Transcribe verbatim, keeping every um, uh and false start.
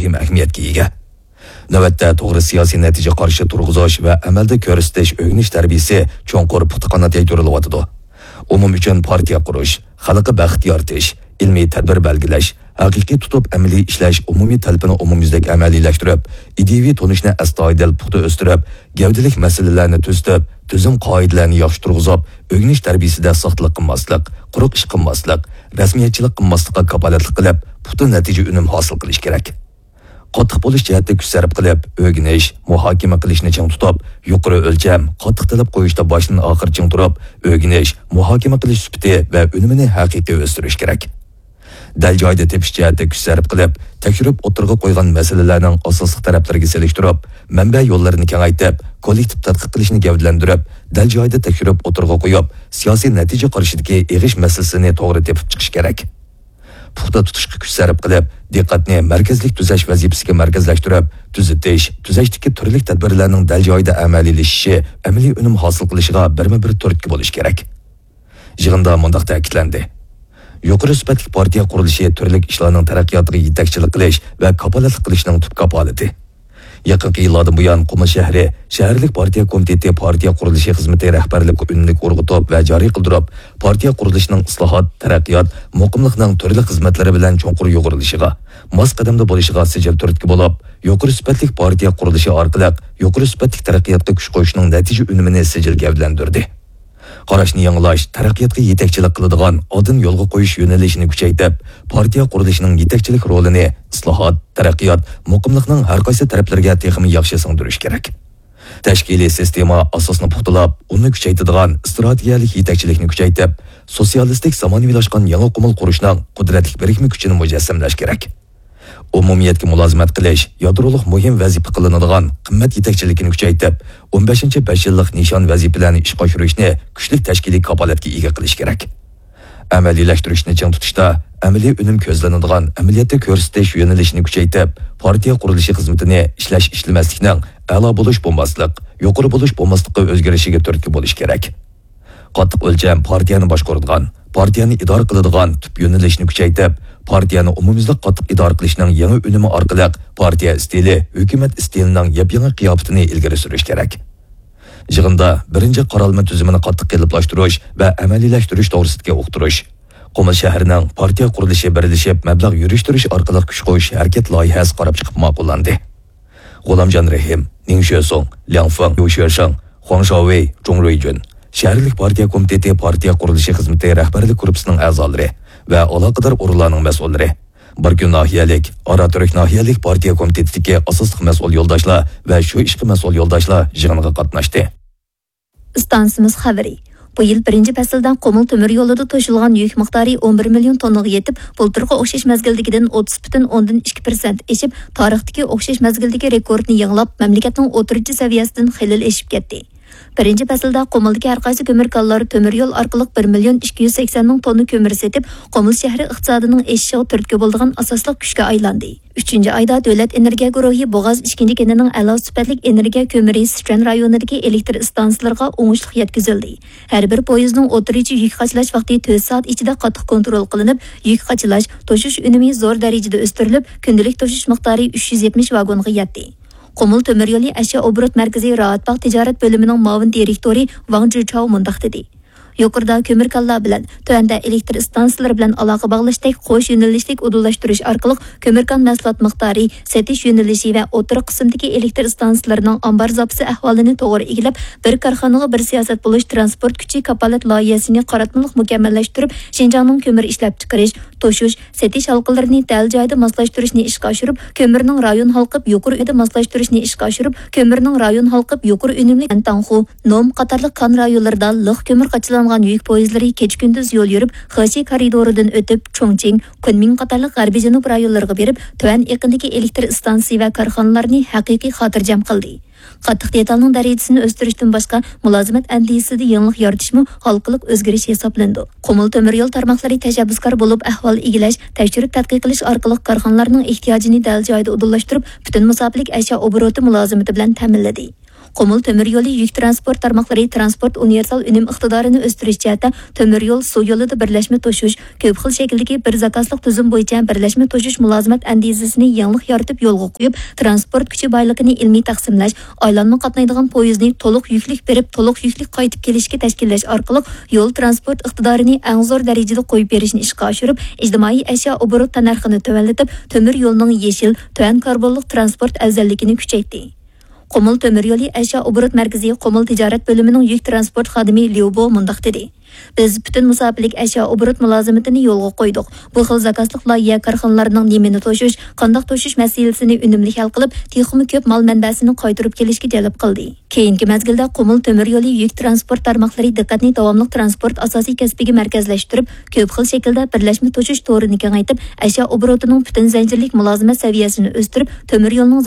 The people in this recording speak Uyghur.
مۇھىم ئەھمىيەتكە ئىگە. نۆۋەتتە توغرا سىياسىي نەتىجە قارىشى تۇرغۇزۇش ۋە ئەمەلدە كۆرسىتىش، ئۆگىنىش تەربىيىسى چوڭقۇر پۇختا قانات يايدۇرۇلۇۋاتىدۇ. ئومۇم ئۈچۈن پارتىيە قۇرۇش، خەلققە بەخت يارىتىش، ئىلمىي تەدبىر بەلگىلەش، ھەقىقىي تۇتۇپ ئەمەلىي ئىشلەش ئومۇمىي تەلىپىنى ئومۇميۈزلۈك ئەمەلىيلەشتۈرۈپ، ئىدىيىۋى تونۇشنى ئەستايىدىل پۇختا ئۆستۈرۈپ، گەۋدىلىك مەسىلىلەرنى تۈزىتىپ، تۈزۈم قائىدىلەرنى ياخشى تۇرغۇزۇپ، ئۆگىنىش تەربىيىسىدە ساختىلىق قىلماسلىق، قۇرۇق ئىش قىلماسلىق، رەسمىيەتچىلىك قىلماسلىققا كاپالەتلىك قىلىپ، پۇختا نەتىجە ئۈنۈم ھاسىل قىلىش كېرەك. قاتتىق بولۇش جەھەتتە كۈچ سەرپ قىلىپ، ئۆگىنىش، مۇھاكىمە قىلىشنى چىڭ تۇتۇپ، يۇقىرى ئۆلچەم، قاتتىق تەلەپ قويۇشتا باشتىن ئاخىر چىڭ تۇرۇپ، ئۆگىنىش، مۇھاكىمە قىلىش سۈپىتى ۋە ئۈنۈمىنى ھەقىقىي ئۆستۈرۈش كېرەك. دەل جايىدا تېپىش جەھەتتە كۈچ سەرپ قىلىپ، تەكشۈرۈپ ئوتتۇرىغا قويغان مەسىلىلەرنىڭ ئاساسلىق تەرەپلىرىگە سېلىشتۇرۇپ، مەنبە يوللىرىنى كېڭەيتىپ، كوللېكتىپ تەتقىق قىلىشنى گەۋدىلەندۈرۈپ، دەل جايىدا تەكشۈرۈپ ئوتتۇرىغا قويۇپ، سىياسىي نەتىجە قارىشىدىكى ئېغىش مەسىلىسىنى توغرا تېپىپ چىقىش كېرەك. پۇختا تۇتۇشقا كۈچ سەرپ قىلىپ، دىققەتنى مەركەزلىك تۈزەش ۋەزىپىسىگە مەركەزلەشتۈرۈپ، تۈزىتىش، تۈزەشتىكى تۈرلۈك تەدبىرلەرنىڭ دەل جايىدا ئەمەلىيلىشىشى ئەمەلىي ئۈنۈم ھاسىل قىلىشىغا بىرمۇ بىر تۈرتكە بولۇش كېرەك. يىغىندا مۇنداق تەكىتلەندى: يۇقىرى سۈپەتلىك پارتىيە قۇرۇلۇشى تۈرلۈك ئىشلارنىڭ تەرەققىياتىغا يېتەكچىلىك قىلىش ۋە كاپالەتلىك قىلىشنىڭ تۈپ كاپالىتى. يېقىنقى يىللاردىن بۇيان، قۇمۇل شەھىرى شەھەرلىك پارتىيە كومىتېتى پارتىيە قۇرۇلۇشى خىزمىتى رەھبەرلىك ئۈنۈملۈك ئۇرغۇتۇپ ۋە جارى قىلدۇرۇپ، پارتىيە قۇرۇلۇشىنىڭ ئىسلاھات، تەرەققىيات، مۇقىملىقنىڭ تۈرلۈك خىزمەتلىرى بىلەن چوڭقۇر يۇغۇرۇلۇشىغا، ماس قەدەمدە بولۇشىغا سىجىل تۈرتكە بولۇپ، يۇقىرى سۈپەتلىك پارتىيە قۇرۇلۇشى ئارقىلىق يۇقىرى سۈپەتلىك تەرەققىياتقا كۈچ قوشۇشنىڭ نەتىجە ئۈنۈمىنى سىجىل گەۋدىلەندۈردى. قاراشنى يېڭىلاش، تەرەققىياتقا يېتەكچىلىك قىلىدىغان ئالدىن يولغا قويۇش يۆنىلىشىنى كۈچەيتىپ، پارتىيە قۇرۇلۇشىنىڭ يېتەكچىلىك رولىنى ئىسلاھات، تەرەققىيات، مۇقىملىقنىڭ ھەر قايسى تەرەپلىرىگە تېخىمۇ ياخشى سىڭدۈرۈش كېرەك. تەشكىلىي سىستېما ئاساسىنى پۇختىلاپ، ئۇنى كۈچەيتىدىغان ئىستراتېگىيەلىك يېتەكچىلىكنى كۈچەيتىپ، سوتسىيالىستىك زامانىۋىلاشقان يېڭى قۇمۇل قۇرۇشنىڭ قۇدرەتلىك بىرىكمە كۈچىنى مۇجەسسەملەش كېرەك. ئومۇمىيەتكە مۇلازىمەت قىلىش يادرولۇق مۇھىم ۋەزىپە قىلىنىدىغان قىممەت يېتەكچىلىكىنى كۈچەيتىپ، ئون بەشىنچى بەش يىللىق نىشان ۋەزىپىلەرنى ئىشقا ئاشۇرۇشنى كۈچلۈك تەشكىلىي كاپالەتكە ئىگە قىلىش كېرەك. ئەمەلىيلەشتۈرۈشنى چىڭ تۇتۇشتا، ئەمەلىي ئۈنۈم كۆزلىنىدىغان ئەمەلىيەتتە كۆرسىتىش يۆنىلىشىنى كۈچەيتىپ، پارتىيە قۇرۇلۇشى خىزمىتىنى ئىشلەش-ئىشلىمەسلىكنىڭ ئەلا بولۇش-بولماسلىق، يۇقىرى بولۇش-بولماسلىققا ئۆزگىرىشىگە تۈرتكە بولۇش كېرەك. قاتتىق ئۆلچەم پارتىيەنى باشقۇرىدىغان، پارتىيەنى ئىدارە قىلىدىغان تۈپ يۆنىلىشنى كۈچەيتىپ، پارتىيەنى ئومۇميۈزلۈك قاتتىق ئىدارە قىلىشنىڭ يېڭى ئۈنۈمى ئارقىلىق پارتىيە ئىستىلى، ھۆكۈمەت ئىستىلىنىڭ ياپيېڭى قىياپىتىنى ئىلگىرى سۈرۈش كېرەك. يىغىندا بىرىنچى قارالما تۈزۈمىنى قاتتىق قېلىپلاشتۇرۇش ۋە ئەمەلىيلەشتۈرۈش توغرىسىدىكى ئۇقتۇرۇش، قۇمۇل شەھىرىنىڭ پارتىيە قۇرۇلۇشى بىرلىشىپ مەبلەغ يۈرۈشتۈرۈش ئارقىلىق كۈچ قوشۇش ھەرىكەت لايىھەسى قاراپ چىقىپ ماقۇللاندى. غۇلامجان رېھىم، نىڭ شۆسۇڭ، لياڭ فېڭ، يۇ شۆشېڭ، خۇاڭ شاۋېي، جۇڭ رۇيجۈن، شەھەرلىك پارتىيە كومىتېتى پارتىيە قۇرۇلۇشى خىزمىتى رەھبەرلىك گۇرۇپپىسىنىڭ ئەزالىرى ۋە ئالاقىدار ئورۇنلارنىڭ مەسئۇللىرى، باركۈن ناھىيەلىك، ئاراتۈرك ناھىيەلىك پارتىيە كومىتېتىدىكى ئاساسلىق مەسئۇل يولداشلار ۋە شۇ ئىشقا مەسئۇل يولداشلار يىغىنغا قاتناشتى. ئىستانسىمىز خەۋىرى. بۇ يىل بىرىنچى پەسىلدە قۇمۇل تۆمۈر يولىدا توشۇلغان يۈك مىقدارى ئون بىر مىليون توننىغا يېتىپ، بۇلتۇرقى ئوخشاش مەزگىلدىكىدىن ئوتتۇز پۈتۈن ئوندىن ئىككى پىرسەنت ئېشىپ، تارىختىكى ئوخشاش مەزگىلدىكى رېكورتنى يېڭىلاپ، مەملىكەتنىڭ ئوتتۇرىچە سەۋىيەسىدىن خېلى ئېشىپ كەتتى. بىرىنچى پەسىلدە قۇمۇلدىكى ھەر قايسى كۆمۈر كانلار تۆمۈر يول ئارقىلىق بىر مىليون ئىككى يۈز سەكسەن مىڭ توننا كۆمۈر سېتىپ، قۇمۇل شەھىرى ئىقتىسادىنىڭ ئېشىشىغا تۈرتكە بولىدىغان ئاساسلىق كۈچكە ئايلاندى. ئۈچىنچى ئايدا دۆلەت ئېنېرگىيە گۇرۇھى بوغاز ئىككىنچى كېنىنىڭ ئەلا سۈپەتلىك ئېنېرگىيە كۆمۈرى سىچۈەن رايونىدىكى ئېلېكتر ئىستانسىلىرىغا ئوڭۇشلۇق يەتكۈزۈلدى. ھەر بىر پويىزنىڭ ئوتتۇرىچە يۈك قاچىلاش ۋاقتى تۆت سائەت ئىچىدە قاتتىق كونترول قىلىنىپ، يۈك قاچىلاش، توشۇش ئۈنۈمى زور دەرىجىدە ئۆستۈرۈلۈپ، كۈندىلىك توشۇش مىقدارى ئۈچ يۈز يەتمىش ۋاگونغا يەتتى. قۇمۇل تۆمۈر يولى ئەشيا ئوبوروت مەركىزى راھەتباغ تىجارەت بۆلۈمىنىڭ مۇئاۋىن دىرېكتورى ۋاڭ جىچاۋ مۇنداق دېدى: يۇقىرىدا كۆمۈر كانلار بىلەن، تۆۋەندە ئېلېكتر ئىستانسىلىرى بىلەن ئالاقە باغلاشتەك قوش يۆنىلىشلىك ئۇدۇللاشتۇرۇش ئارقىلىق كۆمۈر كان مەھسۇلات مىقدارى، سېتىش يۆنىلىشى ۋە ئوتتۇرا قىسىمدىكى ئېلېكتر ئىستانسىلىرىنىڭ ئامبار زاپىسى ئەھۋالىنى توغرا ئىگىلەپ، بىر كارخانىغا بىر سىياسەت بولۇش تىرانسپورت كۈچى كاپالەت لايىھەسىنى قاراتمىلىق مۇكەممەللەشتۈرۈپ، شىنجاڭنىڭ كۆمۈر ئىشلەپچىقىرىش، توشۇش، سېتىش ھالقىلىرىنى دەل جايىدا ماسلاشتۇرۇشنى ئىشقا ئاشۇرۇپ، كۆمۈرنىڭ رايون ھالقىپ يۇقىرى ئۈنۈملۈك ماسلاشتۇرۇشنى ئىشقا ئاشۇرۇپ، كۆمۈرنىڭ رايون ھالقىپ يۇقىرى ئۈنۈملۈك ئەنتاڭخۇ، نوم قاتارلىق كان رايونلىرىدا لىق كۆمۈر قاچىلانغان يۈك پويىزلىرى كېچە-كۈندۈز يول يۈرۈپ، خېشى كارىدورىدىن ئۆتۈپ، چۇڭچىڭ، كۇنمىڭ قاتارلىق غەربىي جەنۇب رايونلىرىغا بېرىپ، تۆۋەن ئېقىندىكى ئېلېكتر ئىستانسىسى ۋە كارخانىلارنى ھەقىقىي خاتىرجەم قىلدى. قاتتىق دېتالنىڭ دەرىجىسىنى ئۆستۈرۈشتىن باشقا، مۇلازىمەت ئەندىزىسىدە يېڭىلىق يارىتىشمۇ ھالقىلىق ئۆزگىرىش ھېسابلىنىدۇ. قۇمۇل تۆمۈر يول تارماقلىرى تەشەببۇسكار بولۇپ، ئەھۋال ئىگىلەش، تەكشۈرۈپ تەتقىق قىلىش ئارقىلىق كارخانىلارنىڭ ئېھتىياجىنى دەل جايىدا ئۇدۇللاشتۇرۇپ، پۈتۈن مۇساپىلىك ئەشيا ئوبوروتى مۇلازىمىتى بىلەن تەمىنلىدى. قۇمۇل تۆمۈر يولى يۈك تىرانسپورت تارماقلىرى تىرانسپورت ئۇنىۋېرسال ئۈنۈم ئىقتىدارىنى ئۆستۈرۈش جەھەتتە تۆمۈر يول، سۇ يولىدا بىرلەشمە توشۇش، كۆپ خىل شەكىلدىكى بىر زاكازلىق تۈزۈم بويىچە بىرلەشمە توشۇش مۇلازىمەت ئەندىزىسىنى يېڭىلىق يارىتىپ يولغا قويۇپ، تىرانسپورت كۈچى بايلىقىنى ئىلمىي تەقسىملەش، ئايلانما قاتنايدىغان پويىزنى تولۇق يۈكلۈك بېرىپ، تولۇق يۈكلۈك قايتىپ كېلىشكە تەشكىللەش ئارقىلىق يول تىرانسپورت ئىقتىدارىنى ئەڭ زور دەرىجىدە قويۇپ بېرىشنى ئىشقا ئاشۇرۇپ، ئىجتىمائىي ئەشيا ئوبوروت تەننەرخىنى تۆۋەنلىتىپ، تۆمۈر يولنىڭ يېشىل، تۆۋەن كاربونلۇق تىرانسپورت ئەۋزەللىكىنى كۈچەيتتى. قۇمۇل تۆمۈر يولى ئەشيا ئوبوروت مەركىزى قۇمۇل تىجارەت بۆلۈمىنىڭ يۈك تىرانسپورت خادىمى ليۇ بو مۇنداق دېدى: بىز پۈتۈن مۇساپىلىك ئەشيا ئوبوروت مۇلازىمىتىنى يولغا قويدۇق. بۇ خىل زاكازلىق لايىھە كارخانىلارنىڭ نېمىنى توشۇش، قانداق توشۇش مەسىلىسىنى ئۈنۈملۈك ھەل قىلىپ، تېخىمۇ كۆپ مال مەنبەسىنى قايتۇرۇپ كېلىشكە جەلپ قىلدى. كېيىنكى مەزگىلدە قۇمۇل تۆمۈر يولى يۈك تىرانسپورت تارماقلىرى دىققەتنى داۋاملىق تىرانسپورت ئاساسىي كەسپىگە مەركەزلەشتۈرۈپ، كۆپ خىل شەكىلدە بىرلەشمە توشۇش تورىنى كېڭەيتىپ، ئەشيا ئوبوروتىنىڭ پۈتۈن زەنجىرلىك مۇلازىمەت سەۋىيەسىنى ئۆستۈرۈپ، تۆمۈر يولنىڭ